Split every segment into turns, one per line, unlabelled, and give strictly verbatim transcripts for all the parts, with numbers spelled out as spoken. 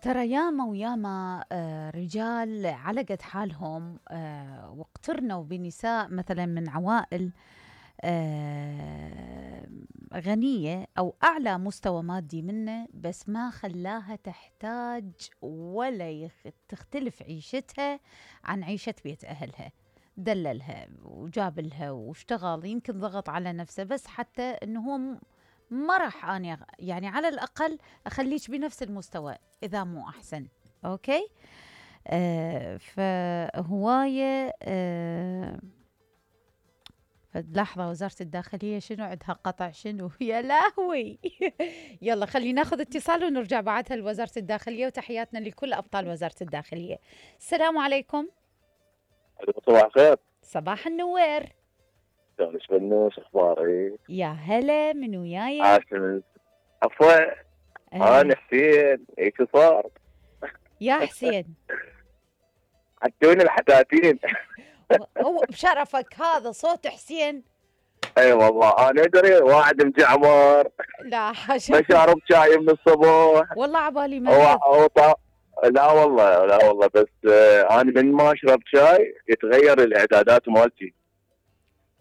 ترى ياما وياما آه، رجال على قد حالهم آه، واقترنوا بنساء مثلا من عوائل آه، غنية أو أعلى مستوى مادي منه، بس ما خلاها تحتاج ولا يخ- تختلف عيشتها عن عيشة بيت أهلها. دللها وجاب لها واشتغل، يمكن ضغط على نفسه بس حتى انه هو م- ما راح اني أغ- يعني على الاقل اخليك بنفس المستوى اذا مو احسن. اوكي. آه فهوايه آه لحظة، وزارة الداخلية شنو عندها قطع شنو؟ يا لهوي. يلا خلينا ناخذ اتصال ونرجع بعدها لوزارة الداخلية، وتحياتنا لكل أبطال وزارة الداخلية. السلام عليكم.
صباح الخير.
صباح النوير.
شلونك بنوش، اخبارك؟
يا هلا، من وياي؟
عاشمك. عفوا.
آه.
انا حسين، ايش صار؟
يا حسين.
عدوني الحداتين.
هو بشرفك هذا صوت حسين؟
اي والله انا ادري واحد مجعمر
لا حاشا.
ما شارب شاي من الصبح.
والله عبالي
هو
مريض.
هو طا... لا والله لا والله بس آه انا من ما اشرب شاي يتغير الاعدادات مالتي.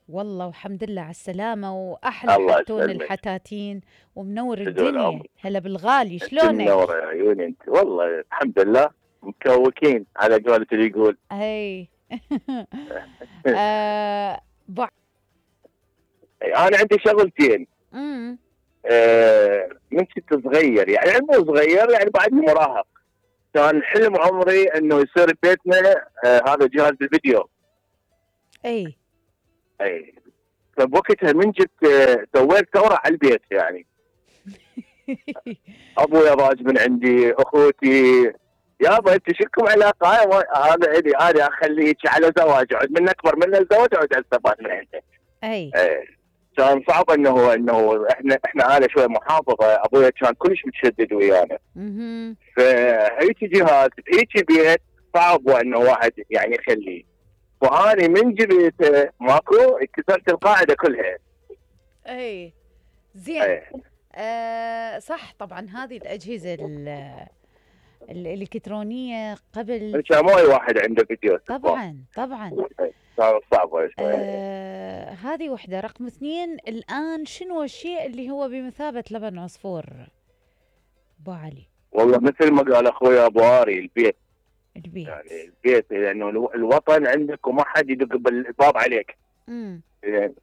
والله والحمد لله على السلامة، وأحلى
الله
حتون
يسلمك.
الحتاتين ومنور
تدول
الدنيا.
عمرك.
هلا بالغالي،
انت
شلونك؟
منوره يا عيوني انت، والله الحمد لله مكوكين على قولة اللي يقول.
اي. آه بع...
انا عندي شغلتين.
مم.
آه، من كنت صغير يعني مو صغير يعني بعدني مراهق، كان حلم عمري انه يصير بيتنا آه هذا جهاز الفيديو.
اي.
اي. فبوقتها من جبت آه سويت ثوره على البيت يعني. ابويا ضاج من عندي، اخوتي، يابا انت شكم علاقه هاي هذا الي انا اخليك على زواج، اقعد من اكبر من الزواج اقعد استفاد من عندك.
اي.
اي. كان صعب انه انه احنا احنا عائله شوي محافظه، ابويا كان كلش متشدد ويانا.
مهم.
فهيك جهاز هيك بيت صعب انه واحد يعني يخليه. واني من جبته ماكو كسرت القاعده كلها.
اي. زين.
ايه.
آه صح، طبعا هذه الأجهزة ال- الإلكترونية قبل.
كان مو اي واحد عنده فيديو استخبار.
طبعا طبعا.
إيه، كان صعب شوي.
آه هذه وحدة. رقم اثنين، الآن شنو الشيء اللي هو بمثابة لبن عصفور أبو علي؟
والله مثل ما قال اخوي ابو اري، البيت.
البيت.
يعني البيت لانه الو- الوطن عندك وما حد يدق بالباب عليك.
امم.
يعني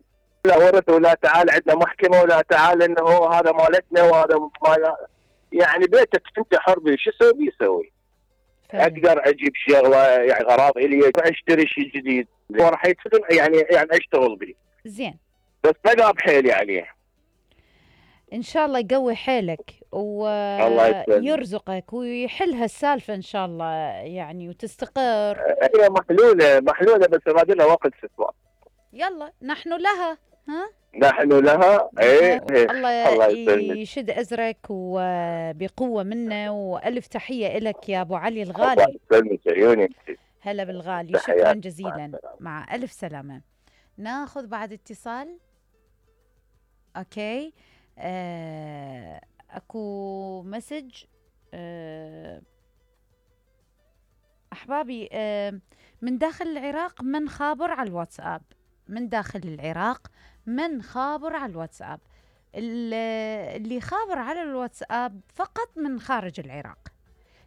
لا ورث ولا تعال عندنا محكمه ولا تعال انه هو هذا مالتنا وهذا مال، يعني بيتك انت حر بيه، شو اسوي يسوي. اقدر اجيب شغله يعني غراض الي، اشتري شيء جديد وراح يتفضل يعني يعني اشتغل به.
زين.
بس بقى بحيلي عليه.
ان شاء الله يقوي حيلك
الله يسلمك.
ويرزقك ويحل هالسالفه ان شاء الله يعني وتستقر.
هي محلوله محلوله بس بعد لها وقت ستوى.
يلا نحن لها. ها.
نحن لها. ايه.
الله
الله يسلمك.
يشد ازرك وبقوه منه، والف تحيه لك يا ابو علي
الله
الغالي.
يسلمك عيوني.
هلا بالغالي، شكرا
تحياتي.
جزيلا، مع الف سلامه. ناخذ بعد اتصال. اوكي. آه، اكو مسج. آه، احبابي، آه، من داخل العراق من خابر على الواتساب. من داخل العراق من خابر على الواتساب. ال- اللي خابر على الواتساب فقط من خارج العراق،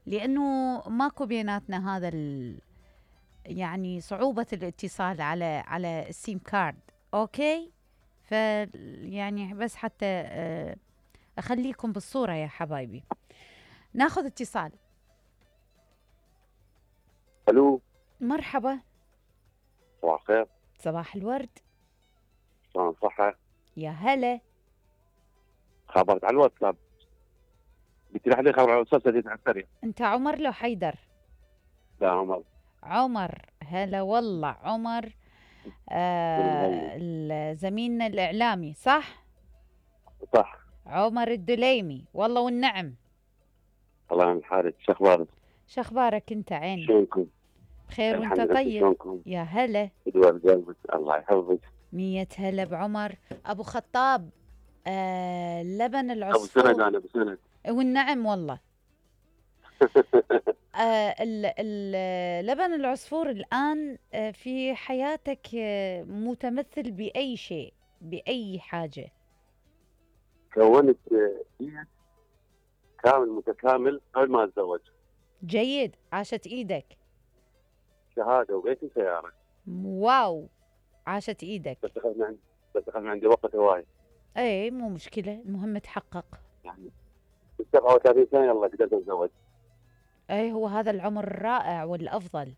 لانه ماكو بيناتنا هذا ال يعني صعوبة الاتصال على على السيم كارد. اوكي. ف يعني بس حتى آه، اخليكم بالصورة يا حبايبي. ناخذ اتصال.
الو.
مرحبا.
صباح الخير.
صباح الورد.
شلون صحة؟
يا هلا.
خبرت على الواتساب، قلت لي حد خبر على الواتساب سديت على السريع.
انت عمر لو حيدر؟
لا عمر.
عمر. هلا والله عمر. آه زميلنا الاعلامي صح؟
صح.
عمر الدليمي. والله والنعم.
الله يعين حالك، شو اخبارك؟
شو اخبارك انت عيني؟
شلونكم؟
بخير وانت
الحمد لله.
طيب؟
شلونكم؟
يا هلا.
دول قلبك الله يحفظك.
مية هلا بعمر ابو خطاب. آه لبن
ابو
العصفور.
سند، انا ابو سند.
والنعم والله. آه ال- ال- لبن العصفور الآن آه في حياتك آه متمثل بأي شيء، بأي حاجة؟
كونت آه، بيت كامل متكامل قبل ما اتزوج.
جيد، عاشت إيدك.
شهاده وبيت وسياره.
واو، عاشت إيدك.
بس اخذ من عندي بس اخذ من عندي وقت هواي.
اي مو مشكلة، المهم تحقق.
يعني ب سبعة وثلاثين سنه يلا قدرت اتزوج.
اي هو هذا العمر الرائع والأفضل.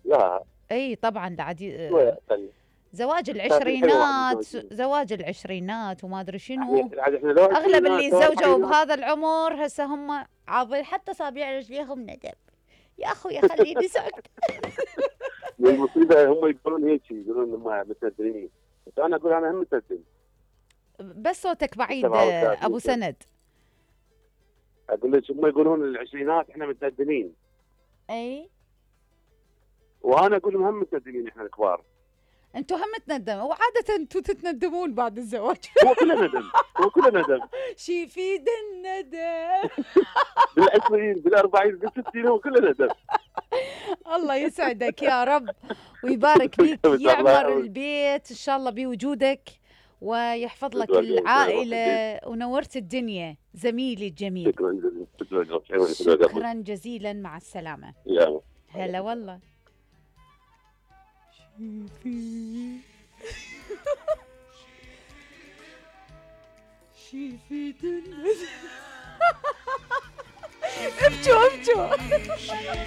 لا
اي طبعا عادي.
شوي اقل.
زواج
حلوة
العشرينات،
متزوجين.
زواج العشرينات وما ادري شنو.
يعني عاد احنا لو
اغلب اللي
عشرينات، لو
تزوجوا
أربعينات،
بهذا العمر هسه هم عابر حتى صابع رجليهم ندب. يا اخوي خليني ساكت.
والمصيبه هم يقولون هيك، يقولون هم متدينين، بس انا اقول انا هم متدين.
بس صوتك بعيد
سبعة وثلاثين
ابو
سنة.
سند.
اقول لك هم يقولون العشرينات احنا متدينين،
اي
وانا اقول لهم هم متدينين احنا الكبار.
انتوا هم تندموا، وعادة انتوا تتندمون بعد الزواج.
هو كله ندم، هو كله ندم.
شي يفيد الندم.
بالعشرين بالأربعين بالستين هو كله ندم.
الله يسعدك يا رب ويبارك فيك، يعمر البيت ان شاء الله بوجودك ويحفظ لك العائلة، ونورت الدنيا زميلي الجميل.
شكرا جزيلا.
شكرا جزيلا، مع السلامة.
يا
هلا والله. شيفي شيفي ابجوا ابجوا.